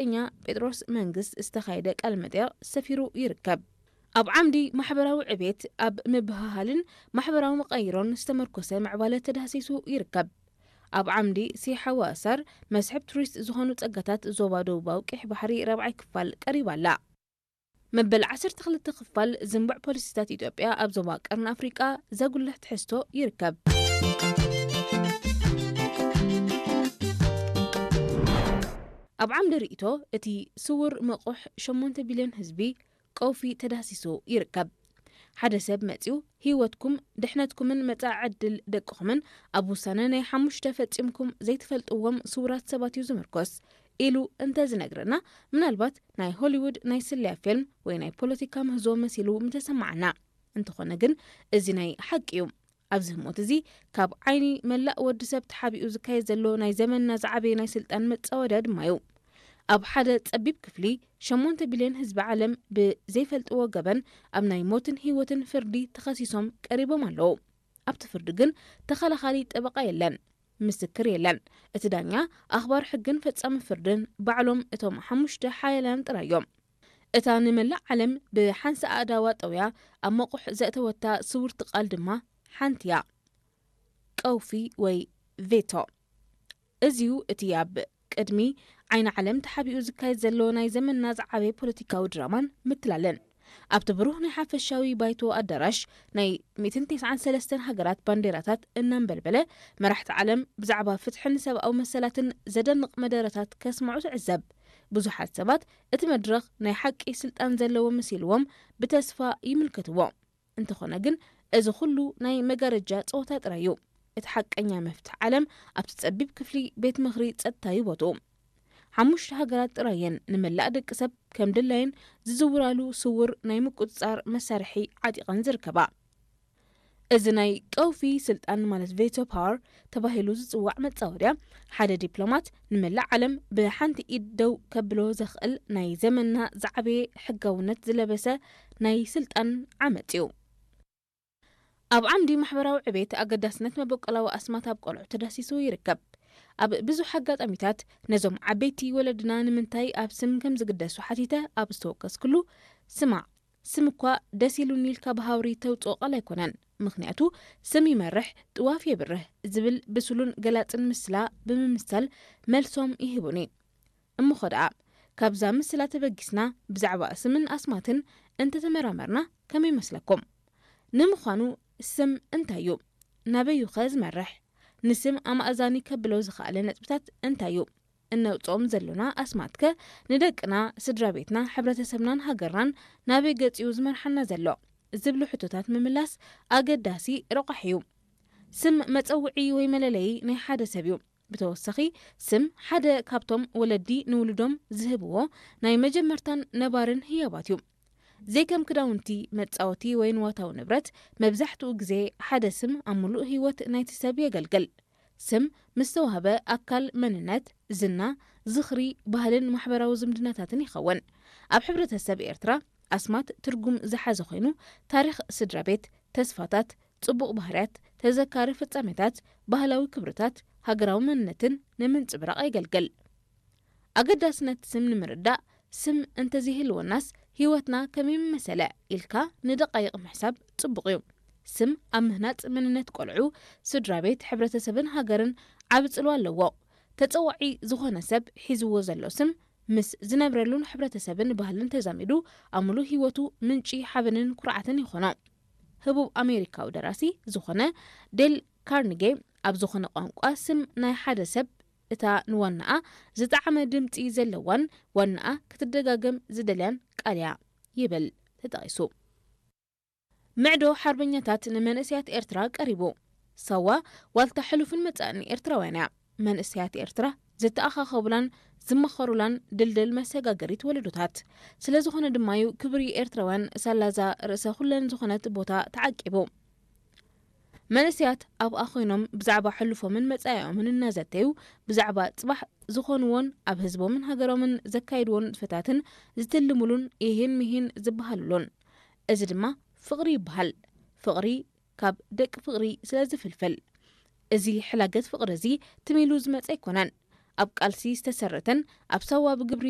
ጋዜጠኛ ጴጥሮስ መንግስት ዝተኻየደ ቃለ መጠይቕ ሰፊሩ ይርከብ። ኣብ ዓምዲ ማሕበራዊ ዕቤት፣ ኣብ ምብህሃልን ማሕበራዊ መቐይሮን ዝተመርኮሰ ምዕባለ ተዳህሲሱ ይርከብ። ኣብ ዓምዲ ሲሓዋሳር መስሕብ ቱሪስት ዝኾኑ ጸጋታት ዞባ ደቡባዊ ቀይሕ ባሕሪ ራብዓይ ክፋል ቀሪባ ኣላ። መበል ዓሰርተ ክልተ ክፋል ዝንቡዕ ፖሊሲታት ኢትዮጵያ ኣብ ዞባ ቀርኒ ኣፍሪቃ ዘጉልሕ ትሕዝቶ ይርከብ። ኣብ ዓምዲ ርእይቶ፣ እቲ ስውር መቑሕ ሸሞንተ ቢልዮን ህዝቢ ቀውፊ ተዳህሲሱ ይርከብ። ሓደ ሰብ መጺኡ፣ ህይወትኩም፣ ድሕነትኩምን መጻኢ ዕድል ደቅኹምን ኣብ ውሳነ ናይ ሓሙሽተ ፈጺምኩም ዘይትፈልጥዎም ስውራት ሰባት እዩ ዝምርኮስ ኢሉ እንተ ዝነግረና፣ ምናልባት ናይ ሆሊውድ ናይ ስለያ ፊልም ወይ ናይ ፖለቲካ ምህዞ መሲሉ ምተሰማዓና። እንተኾነ ግን፣ እዚ ናይ ሓቂ እዩ። ኣብዚ ህሞት እዚ፣ ካብ ዓይኒ መላእ ወዲ ሰብ ተሓቢኡ ዝካየድ ዘሎ ናይ ዘመንና ዝዓበየ ናይ ስልጣን መጻወድያ ድማ እዩ። ኣብ ሓደ ጸቢብ ክፍሊ፣ ሸሞንተ ቢልዮን ህዝቢ ዓለም ብዘይፈልጥዎ ገበን ኣብ ናይ ሞትን ህይወትን ፍርዲ ተኸሲሶም ቀሪቦም ኣለዉ። ኣብቲ ፍርዲ ግን ተኸላኻሊ ጠበቓ የለን፣ ምስክር የለን። እቲ ዳኛ፣ ኣኽባር ሕግን ፈጻሚ ፍርድን ባዕሎም እቶም ሓሙሽተ ሓያላን ጥራይ እዮም። እታ ንመላእ ዓለም ብሓንሳእ ኣእዳዋ ጠውያ ኣብ መቑሕ ዘእተወታ ስውርቲ ቃል ድማ ሓንቲ እያ። ቀውፊ ወይ ቬቶ። እዚዩ እቲ ኣብ ቅድሚ ዓይኒ ዓለም ተሓቢኡ ዝካየድ ዘሎ ናይ ዘመንና ዝዓበየ ፖለቲካዊ ድራማን ምትላልን። ኣብቲ ብሩህ ናይ ሓፈሻዊ ባይቶ ኣዳራሽ፣ ናይ ሚእትን ተስዓን ሰለስተን ሃገራት ባንዴራታት እናንበልበለ፣ መራሕቲ ዓለም ብዛዕባ ፍትሕን ሰብኣዊ መሰላትን ዘደንቕ መደረታት ከስምዑ ትዕዘብ። ብዙሓት ሰባት እቲ መድረኽ ናይ ሓቂ ስልጣን ዘለዎ መሲልዎም ብተስፋ ይምልከትዎ። እንተኾነ ግን፣ እዚ ኹሉ ናይ መጋረጃ ጸወታ ጥራይ እዩ። እቲ ሓቀኛ መፍትሕ ዓለም ኣብቲ ጸቢብ ክፍሊ ቤት ምኽሪ ጸጥታ እዩ ቦትኡ። ሓሙሽተ ሃገራት ጥራይ እየን ንመላእ ደቂ ሰብ ከም ድላየን ዝዝውራሉ ስውር ናይ ምቁጽጻር መሳርሒ ዓጢቐን ዝርከባ። እዚ ናይ ቀውፊ ስልጣን፣ ማለት ቬቶ ፓወር ተባሂሉ ዝጽዋዕ መጻወድያ፣ ሓደ ዲፕሎማት ንመላእ ዓለም ብሓንቲ ኢድ ደው ከብሎ ዘኽእል ናይ ዘመንና ዝዓበየ ሕጋውነት ዝለበሰ ናይ ስልጣን ዓመጽ እዩ። ኣብ ዓምዲ ማሕበራዊ ዕቤት፣ ኣገዳስነት መበቆላዊ ኣስማት ኣብ ቆልዑ ተዳሲሱ ይርከብ። ኣብ ብዙሕ ኣጋጣሚታት፣ ነዞም ዓበይቲ ወለድና ንምንታይ ኣብ ስም ከም ዝግደሱ ሓቲተ ኣብ ዝተወከስኩሉ፣ ስማዕ፣ ስም እኳ ደስ ኢሉኒ ኢልካ ብሃውሪ ተውጽኦ ቃል ኣይኮነን። ምኽንያቱ፣ ስም ይመርሕ፣ ጥዋፍ የብርህ ዝብል ብሱሉን ገላጽን ምስላ ብምምሳል መልሶም ይህቡኒ። እሞኸ ደኣ፣ ካብዛ ምስላ ተበጊስና ብዛዕባ ስምን ኣስማትን እንተተመራመርና ከመይ ይመስለኩም? ንምዃኑ፣ ስም እንታይ እዩ? ናበዩኸ ዝመርሕ? ንስም ኣማእዛኒ ከብሎ ዝኸኣለ ነጥብታት እንታይ እዩ? እነውጽኦም ዘሎና ኣስማትከ ንደቅና፣ ስድራ ቤትና፣ ሕብረተሰብናን ሃገርናን ናበይ ገጽ እዩ ዝመርሓና ዘሎ? ዝብሉ ሕቶታት ምምላስ ኣገዳሲ ረቋሒ እዩ። ስም መጸውዒ ወይ መለለዪ ናይ ሓደ ሰብ እዩ። ብተወሳኺ፣ ስም ሓደ ካብቶም ወለዲ ንውሉዶም ዝህብዎ ናይ መጀመርታን ነባርን ህያባት እዩ። ዘይከም ክዳውንቲ፣ መጻወቲ ወይ ንዋታዊ ንብረት፣ መብዛሕትኡ ግዜ ሓደ ስም ኣብ ምሉእ ህይወት ናይቲ ሰብ የገልግል። ስም ምስ ተዋህበ፣ ኣካል መንነት፣ ዝና፣ ዝኽሪ፣ ባህልን ማሕበራዊ ዝምድናታትን ይኸውን። ኣብ ሕብረተሰብ ኤርትራ፣ ኣስማት ትርጉም ዝሓዘ ኮይኑ፣ ታሪኽ ስድራ ቤት፣ ተስፋታት፣ ጽቡቕ ባህርያት፣ ተዘካሪ ፍጻሜታት፣ ባህላዊ ክብርታት፣ ሃገራዊ መንነትን ንምንጽብራቕ የገልግል። ኣገዳስነት ስም ንምርዳእ፣ ስም እንተዘይህልወናስ ህይወትና ከመይ ምመሰለ ኢልካ ንደቃይቕ ምሕሳብ ጽቡቕ እዩ። ስም ኣብ ምህናጽ መንነት ቆልዑ፣ ስድራ ቤት፣ ሕብረተሰብን ሃገርን ዓቢ ጽልዋ ኣለዎ። ተጸዋዒ ዝኾነ ሰብ ሒዝዎ ዘሎ ስም ምስ ዝነብረሉን ሕብረተሰብን ባህልን ተዛሚዱ፣ ኣብ ምሉእ ህይወቱ ምንጪ ሓበንን ኩርዓትን ይኾኖ። ህቡብ ኣሜሪካዊ ደራሲ ዝኾነ ዴል ካርኒጌ ኣብ ዝኾነ ቋንቋ፣ ስም ናይ ሓደ ሰብ እታ ንዋናኣ ዝጠዓመ ድምጺ ዘለዋን ዋናኣ ክትደጋገም ዝደልያን ቃል እያ ይብል ተጠቒሱ። ምዕዶ ሓርበኛታት ንመንእሰያት ኤርትራ ቀሪቡ። ሳዋ ዋልታ ሕሉፍን መጻእን ኤርትራውያን እያ። መንእሰያት ኤርትራ ዝተኣኻኸቡላን ዝመኸሩላን ድልድል መሰጋገሪት ወለዶታት። ስለ ዝኾነ ድማ እዩ ክብሪ ኤርትራውያን ሳላዛ ርእሰ ኩለን ዝኾነት ቦታ ተዓቂቡ። መንእሰያት ኣብኣ ኮይኖም ብዛዕባ ሕሉፎምን መጻኢኦምን እናዘተዩ፣ ብዛዕባ ጽባሕ ዝኾንዎን ኣብ ህዝቦምን ሃገሮምን ዘካይድዎ ንጥፈታትን ዝትልሙሉን ይሂን ምሂን ዝበሃሉሉን። እዚ ድማ ፍቕሪ ይበሃል። ፍቕሪ ካብ ደቂ ፍቕሪ ስለ ዝፍልፍል። እዚ ሕላገት ፍቕሪ እዚ ትም ኢሉ ዝመጸ ኣይኮነን። ኣብ ቃልሲ ዝተሰረተን ኣብ ሳዋ ብግብሪ